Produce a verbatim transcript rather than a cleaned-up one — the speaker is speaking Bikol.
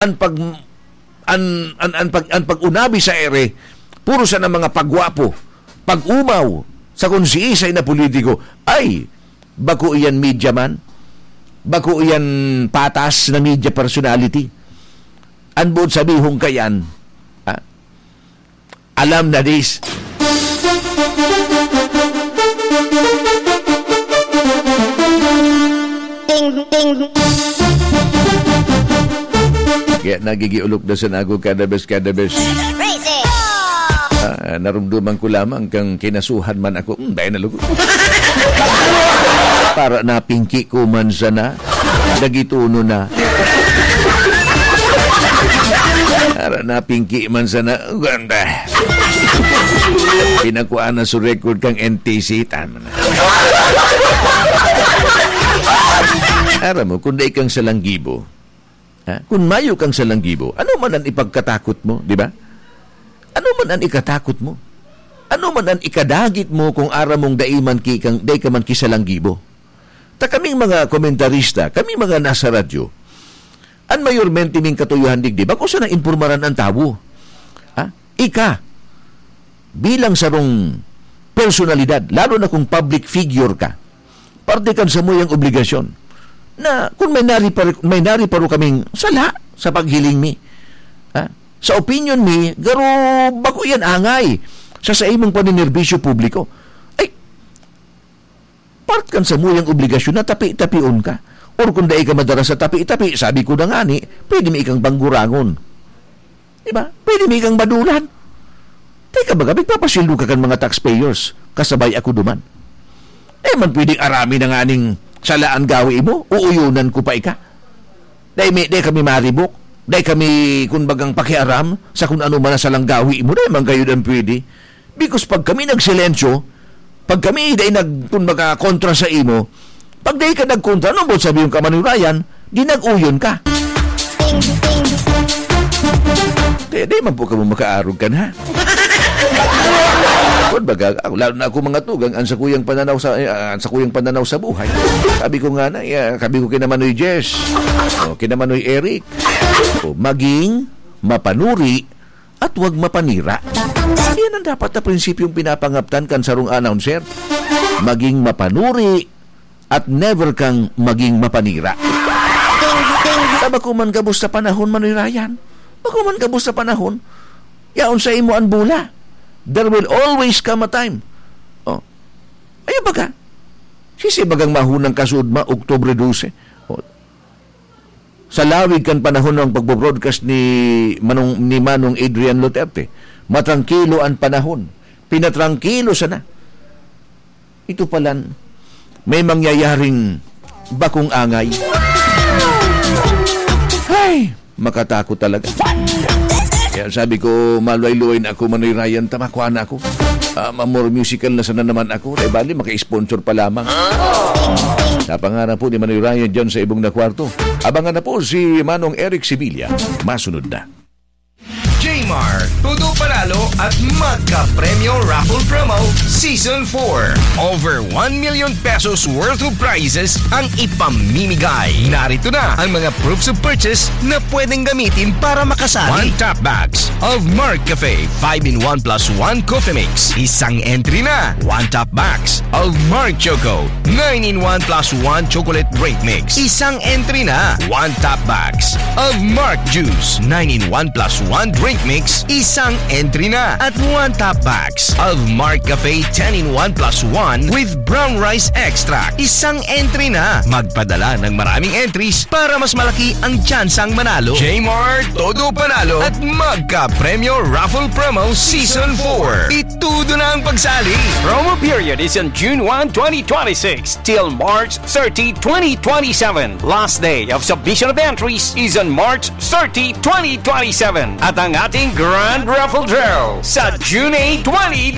an pag-, an, an, an pag-, an pag-unabi sa ere, puro sana mga pagwapo, pag-umaw sa kung siisay na politiko. Ay, bako iyan media man. Bako iyan patas na media personality. An boot sabihon kayan, ha? Alam na dis. Ting, ting. Kaya nagigiulok na sa nago kada bes, kada bes. Crazy. Ah, narumduman ko lamang kang kinasuhan man ako. Hmm, dahil na lugod. Para napingki ko man sana. Nagituno na. Para napingki man sana. Ganda. Pinakuha na sa record kang N T C. Tama na. Aram mo, kung dai kang salanggibo, ha? Kung mayo kang salanggibo, ano man ang ipagkatakot mo, di ba? Ano man ang ikatakot mo? Ano man ang ikadagit mo kung aram mong dai man ki-, kang, dai ka man kisalanggibo? Ta kaming mga komentarista, kaming mga nasa radyo, an mayormente ming katuyohan digdi, bako sana impormaran an tawo. Ha? Ika, bilang sarong personalidad, lalo na kung public figure ka, parte kan samuyang obligasyon na kung may nariparo, may nariparo kaming sala sa paghiling mi, ha? Sa opinyon mi, garo bako iyan angay sa saimong paninerbisyo publiko. Ay, part kan samuyang obligasyon na tapi-tapion ka. Or kung dai ka madara sa tapi-tapi, sabi ko na ngani, pwede mi ikang banggurangon. Di ba? Pwede mi ikang badulan. Teka, baga, magpapasweldo ka kan mga taxpayers, kasabay ako duman. Eh, man pwedeng arami na nganing sala an gawi mo, uuyonan ko pa ika. Dai mi, dai kami maribok, dai kami, kun bagang, pakiaram sa kun ano man ang salang gawi mo, dai man kayo dan pwede. Because pag kami nagsilensyo, pag kami dai nag-, kun baga, kontra sa imo, pag dai ka nagkontra, ano mo sabi yung kamanoy Ryan, di nag-uyon ka. Kaya di man po kamo makaarog kan, ha? Kun baga, ako, lalo na ako mga tugang, ang sakuyang pananaw sa, eh, ang sakuyang pananaw sa buhay. Sabi ko nga na, eh, sabi ko kina Manoy Jess, o, kina Manoy Eric, o, maging mapanuri at wag mapanira. Yan ang dapat na prinsipyong pinapangaptan kan sarong announcer. Maging mapanuri at never kang maging mapanira. Ta bako man gabos sa panahon, Manoy Ryan. Bako man gabos sa panahon, yaon sa imo an bola. There will always come a time. Oh. Ayaw baga. Sisi bagang mahunang kasuodma, Oktubre dose. Oh. Sa lawig kan panahon ng pagbo-broadcast ni Manong, ni Manong Adrian Duterte, matrangkilo an panahon. Pinatrangkilo sana. Ito palan, may mangyayaring bakong angay. Ay, makatakot talaga. Kaya sabi ko, maluay-luay na ako, Manoy Ryan, tamakwa na ako. Ah, ma-, more musical na sana naman ako. Dahil bali, maka-sponsor pa lamang. Sa pangaran po ni Manoy Ryan dyan sa ibong na kwarto. Abangan na po si Manong Eric Sevilla. Masunod na. Jmart, todo panalo at magka-premyo raffle promo season four. Over one million pesos worth of prizes ang ipamimigay. Narito na ang mga proofs of purchase na pwedeng gamitin para makasali. One top box of Mark Cafe five-in-one plus one Coffee Mix. Isang entry na. One top box of Mark Choco nine-in-one plus one Chocolate Drink Mix. Isang entry na. One top box of Mark Juice nine-in-one plus one Drink Mix. Isang entry na. At one top box of Mark Cafe ten-in-one plus one with Brown Rice Extract. Isang entry na. Magpadala ng maraming entries para mas malaki ang tsansang manalo. Jmart, todo panalo at magka-premyo raffle promo season four. Itudo na ang pagsali. Promo period is on June one, twenty twenty-six till March thirty, twenty twenty-seven. Last day of submission of entries is on March thirty, twenty twenty-seven. At ang ating Grand Raffle Draw sa June eight, twenty